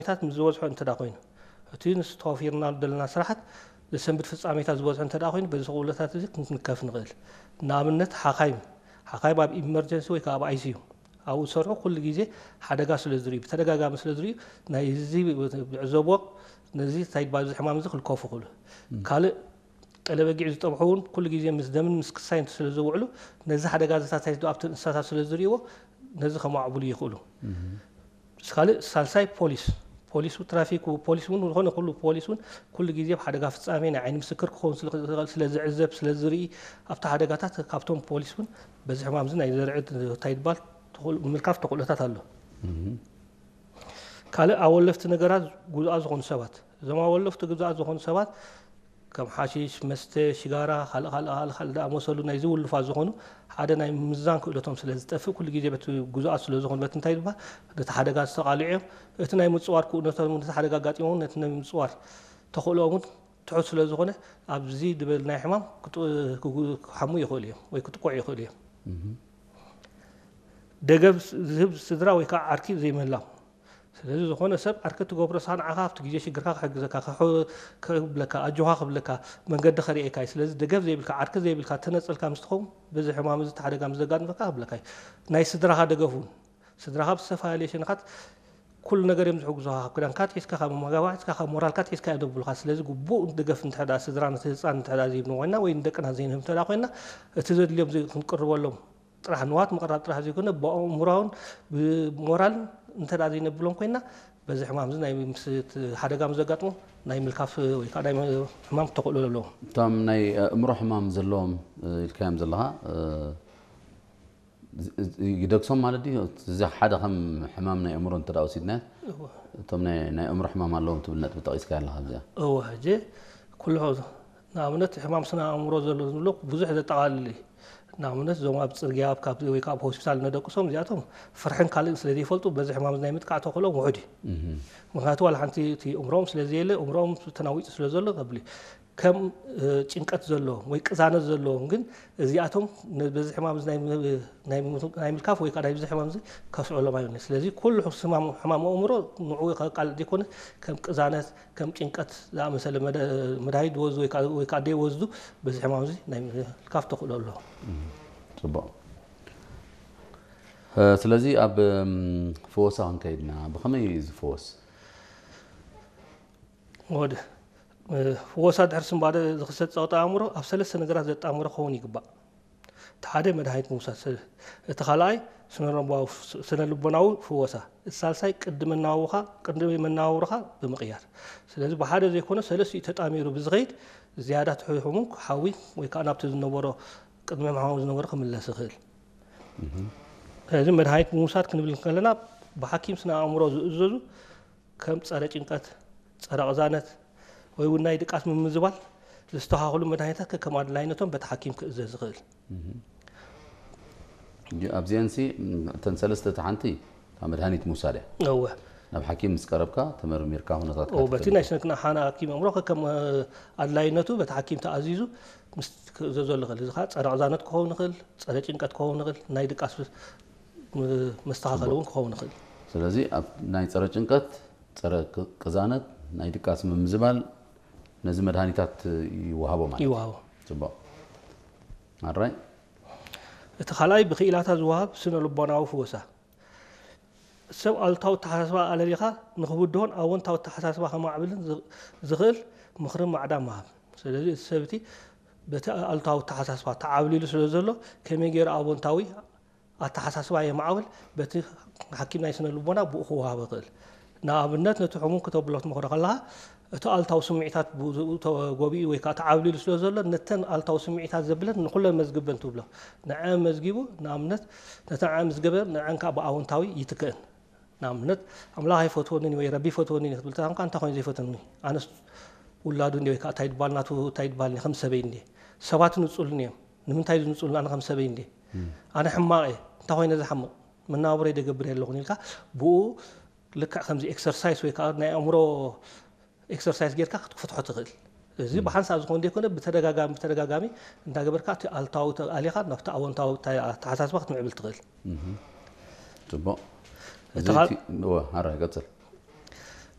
ፍጻሜታት ምስ ዝበዝሖ እንተ ደኣ ኮይኑ፣ እቲ ንሱ ተዋፊርናሉ ዘለና ስራሓት ዘሰንብድ ፍጻሜታት ዝበዝሖ እንተ ደኣ ኮይኑ፣ በዚ ክእለታት እዚ ክንከፍ ንኽእል። ንኣብነት፣ ሓኻይም፣ ሓኻይም ኣብ ኢመርጀንሲ ወይ ከዓ ኣብ ኣይ ሲ ዩ ኣብኡ ዝሰርሑ ኩሉ ግዜ ሓደጋ ስለ ዝርእዩ፣ ብተደጋጋሚ ስለ ዝርእዩ፣ ናይ እዚ ዝዕዘቦ ነዚ እንታይ ይባል፣ እዚ ሕማም እዚ ክልከፉ ይኽእሉ። ካልእ ቀለበጊዕ ዝጠብሑ እውን ኩሉ ግዜ ምስ ደምን ምስ ክሳይን ስለ ዝውዕሉ፣ ነዚ ሓደጋ ዘታታይ ኣብቲ እንስሳታት ስለ ዝርእይዎ፣ ነዚ ከማዕብሉ ይኽእሉ። ምስ ካልእ ሳልሳይ ፖሊስ፣ ፖሊስ ትራፊክ፣ ፖሊስ እውን ዝኾነ ኩሉ ፖሊስ እውን ኩሉ ግዜ ኣብ ሓደጋ ፍጻሜ ናይ ዓይኒ ምስክር ክኸውን ስለ ዝኽእል፣ ስለ ዝዕዘብ፣ ስለ ዝርኢ፣ ኣብቲ ሓደጋታት ካብቶም ፖሊስ እውን በዚ ሕማም እዚ ናይ ዘርዕድ እንታይ ይባል ተኽእሎ-፣ ምልካፍ ተኽእሎታት ኣሎ። ካልእ ኣወለፍቲ ነገራት ጉዙኣት ዝኾኑ ሰባት፣ እዞም ኣወለፍቲ ጉዙኣት ዝኾኑ ሰባት ከም ሓሺሽ፣ መስተ፣ ሽጋራ፣ ካልእ ካልእ ካልእ ካልእ ዝኣመሰሉ ናይ ዝውልፋት ዝኾኑ ሓደ ናይ ምምዛን ክእለቶም ስለ ዝጠፍእ ኩሉ ግዜ በቲ ጉዙኣት ስለ ዝኾኑ በቲ እንታይ ዝበሃል ነቲ ሓደጋ ዝተቓልዑ እዮም። እቲ ናይ ምጽዋር ክእለቶም ነቲ ሓደጋ ኣጋጢሞም ነቲ ናይ ምጽዋር ተኽእሎኦም እውን ትሑት ስለ ዝኾነ ኣብዚ ዝበል ናይ ሕማም ክጥ-፣ ክጉ-፣ ክሓሙ ይኽእሉ እዮም ወይ ክጥቅዑ ይኽእሉ እዮም። ደገፍ ዝህብ ስድራ ወይ ከዓ ዓርኪ ዘይምህላው። ስለዚ ዝኾነ ሰብ ዓርኪ ትገብሮ ንስኻ ንዓኻ ኣብቲ ግዜ ሽግርካ ክሕግዘካ፣ ክሕ-፣ ክብለካ፣ ኣጆኻ ክብለካ፣ መንገዲ ከርእየካ እዩ። ስለዚ ደገፍ ዘይብልካ፣ ዓርኪ ዘይብልካ፣ ተነጸልካ ምስ ትኸውን በዚ ሕማም እዚ እቲ ሓደጋ ምስ ዘጋጥመካ ክብለካ እዩ። ናይ ስድራኻ ደገፍ እውን። ስድራኻ ብዝተፈላለየ ሸነኻት ኩሉ ነገር እዮም ዝሕግዙኻ። ካብ ክዳንካ ኣትሒዝካ፣ ካብ መመጋብራ ኣትሒዝካ፣ ካብ ሞራልካ ኣትሒዝካ እዮም ዘብሉኻ። ስለዚ ግቡእ ደገፍ እንተ ደኣ ስድራ ነቲ ህጻን እንተ ደኣ ዘይብሉ ኮይና ወይ ንደቅና ዘይንህብ እንተ ደኣ ኮይና እቲ ዘድልዮም ዘይ-፣ ክንቅርበሎም ጥራሕ ንዋት ምቕራብ ጥራሕ ዘይኮነ ብኣእምሮን ብሞራልን እንተ ደኣ ዘይነብሎም ኮይና በዚ ሕማም እዚ ናይ ምስ-፣ እቲ ሓደጋ ምስ ዘጋጥሞ ናይ ምልካፍ ወይ ከዓ ናይ ሕማም ተኽእሎ ኣለዎም። እቶም ናይ ኣእምሮ ሕማም ዘለዎም፣ እ፣ ኢልካዮም ዘለኻ፣ እ፣ ዝ-፣ ዝ-፣ ይደግሶም ማለት ድዩ? እዚ ሓደ ከም ሕማም ናይ ኣእምሮ እንተ ደኣ ወሲድናዮ፣ እወ። እቶም ናይ፣ ናይ ኣእምሮ ሕማም ኣለዎም ትብል ነጥቢ ጠቒስካ ኣለኻ ኣብዚኣ። እወ፣ ሕጂ ኩሉ ንኣብነት ሕማም ስነ ኣእምሮ ዘሎ ዝብሎ ብዙሕ ዘጠቓልል እዩ። ንኣብነት እዞም ኣብ ጽርግያ ኣብ ካብ ወይ ከዓ ኣብ ሆስፒታል ነደቅሶም እዚኣቶም ፍርሕን ካልእን ስለ ዘይፈልጡ በዚ ሕማም ናይ ምጥቃዕ ተኽእሎም ውሑድ እዩ። እህ። ምኽንያቱ ዋላ ሓንቲ እቲ እምሮኦም ስለ ዘየለ እምሮኦም ተናዊጹ ስለ ዘሎ ከብል እዩ። ከም፣ እ፣ ጭንቀት ዘለዎም ወይ ቅዛነት ዘለዎም ግን እዚኣቶም ነ-፣ በዚ ሕማም እዚ ናይ ም-፣ ናይ ም-፣ ናይ ምልካፍ ወይ ከዓ ናይ ብዚ ሕማም እዚ ከስዕሎም ኣይብልን። ስለዚ ኩሉ ሕማም፣ ሕማም ኣእምሮ ንዕኡ ከቃልዕ ዘይኮነ ከም ቅዛነት፣ ከም ጭንቀት ዝኣመሰለ መደ-፣ መድሃኒት ዝወስዱ ወይ ከዓ፣ ወይ ከዓ ደይወስዱ በዚ ሕማም እዚ ናይ ምልካፍ ተኽእሎ ኣለዎ። እም፣ ጽቡቕ። እ፣ ስለዚ ኣብ፣ እም፣ ፍወሳ ክንከይድና ብኸመይ እዩ ዝፍወስ? ወደ፣ እ፣ ፍወሳ ድሕሪ ስንባደ ዝኽሰት ጸቕጢ ኣእምሮ ኣብ ሰለስተ ነገራት ዘጣምሮ ክኸውን ይግባእ። እቲ ሓደ መድሃኒት ምውሳድ፣ ሰ-፣ እቲ ካልኣይ ስነ-ልቦናዊ፣ ስነ-ልቦናዊ ፍወሳ፣ እቲ ሳልሳይ ቅዲ መናውኻ፣ ቅዲ መነባብሮኻ ብምቕያር። ስለዚ ብሓደ ዘይኮነ ሰለስቲኡ ተጣሚሩ ብዝኸይድ ዝያዳ እቲ ሕሙም ክሓዊ ወይ ከዓ ናብቲ ዝነበሮ ቅድሚ ሕማሙ ዝነበሮ ክምለስ ይኽእል። እህ። ስለዚ መድሃኒት ምውሳድ ክንብል ከለና ብሓኪም ስነ ኣእምሮ ዝእዘዙ ከም ጸረ ጭንቀት፣ ጸረ ቅዛነት ወይ እውን ናይ ድቃስ ምምዝባል ዘስተኻኽሉ መድሃኒታት ከከም ኣድላይነቶም በቲ ሓኪም ክእዘዝ ይኽእል። እህ። እጂ ኣብዚአንሲ፣ እም፣ እተን ሰለስተ እቲ ሓንቲ እታ መድሃኒት ምውሳድ እያ። እወ። ናብ ሓኪም ምስ ቀረብካ ተመርሚርካ ኩነታትካ እወ፣ በቲ ናይ ተፈሊጡ። ስነ-፣ ሓና ሓኪም ኣእምሮ ከከም፣ እ፣ ኣድላይነቱ በቲ ሓኪም ተኣዚዙ ምስ ክእዘዘሉ ይኽእል። እዚ ኸዓ ጸረ ቅዛነት ክኸውን ይኽእል፣ ጸረ ጭንቀት ክኸውን ይኽእል፣ ናይ ድቃስ ም-፣ መስተኻኸሊ እውን ክኸውን ይኽእል። ስለዚ ኣብ ናይ ጸረ ጭንቀት፣ ጸረ ቅ-፣ ቅዛነት፣ ናይ ድቃስ ምምዝባል ነዚ መድሃኒታት ይወሃቦ ማለት እዩ። ይወሃቦ። ጽቡቕ። ኣራይ? እቲ ካልኣይ ብክኢላታት ዝወሃብ ስነ ልቦናዊ ፍወሳ። ሰብ ኣሉታዊ ኣተሓሳስባ ኣለሊኻ ንኽብድሆን ኣወንታዊ ኣተሓሳስባ ከማዕብልን ዝ-፣ ዝኽእል ምኽርን ማዕዳን ምሃብ። ስለዚ እቲ ሰብ እቲ በቲ ኣሉታዊ ኣተሓሳስባ ተዓብሊሉ ስለ ዘሎ ከመይ ገይሩ ኣወንታዊ ኣተሓሳስባ የማዕብል፣ በቲ ሓኪም ናይ ስነ ልቦና ብኡ ክወሃቦ ይኽእል። ንኣብነት ነቲ ሕሙም ክተብሎ ክትመኽሮ ከለኻ እቲ ኣሉታዊ ስምዒታት ብኡ ተጎቢኡ ወይ ከዓ ተዓብሊሉ ስለ ዘሎ ነተን ኣሉታዊ ስምዒታት ዘብለን ንኹለን መዝግበን ትብሎ። ንዐን መዝጊቡ ንኣብነት ነተን ንዐን ምስ ገበረ ንዐን ከዓ ብኣወንታዊ ይትክእን። ንኣብነት ኣምላኽ ኣይፈትወንን እዩ ወይ ረቢ ይፈትወንን እዩ ክትብል ተኾንካ እንታይ ኮይኑ ዘይፈትወኒ? ኣነስ ውላዱ እንዲ ወይ ከዓ እንታይ ይባል ናቱ እንታይ ይባል ከም ሰበይ እንዲ ሰባት ንጹልን እዮም። ንምንታይ ዝንጹልን ኣነ ከም ሰበይ እንዲ? እም። ኣነ ሕማቕ እየ። እንታይ ኮይነ ዝሓምቕ? መነባብሮይ ደገብር ኣለኹን ኢልካ ብኡ ልክዕ ከምዚ ኤክሰርሳይስ ወይ ከዓ ናይ ኣእምሮ ኤክሰርሳይስ ጌርካ ክትፈትሖ ትኽእል። እዚ እም። ብሓንሳብ ዝኾን ዘይኮነ ብተደጋጋሚ፣ ብተደጋጋሚ እንዳገበርካ እቲ ኣሉታዊ ኣሊኻ ናብቲ ኣወንታዊ ኣተሓሳስባ ክትምዕብል ትኽእል። እህ። ጽቡቕ። እቲ እዚ ካል-፣ እቲ፣ እወ፣ ኣረ፣ ቀጽል።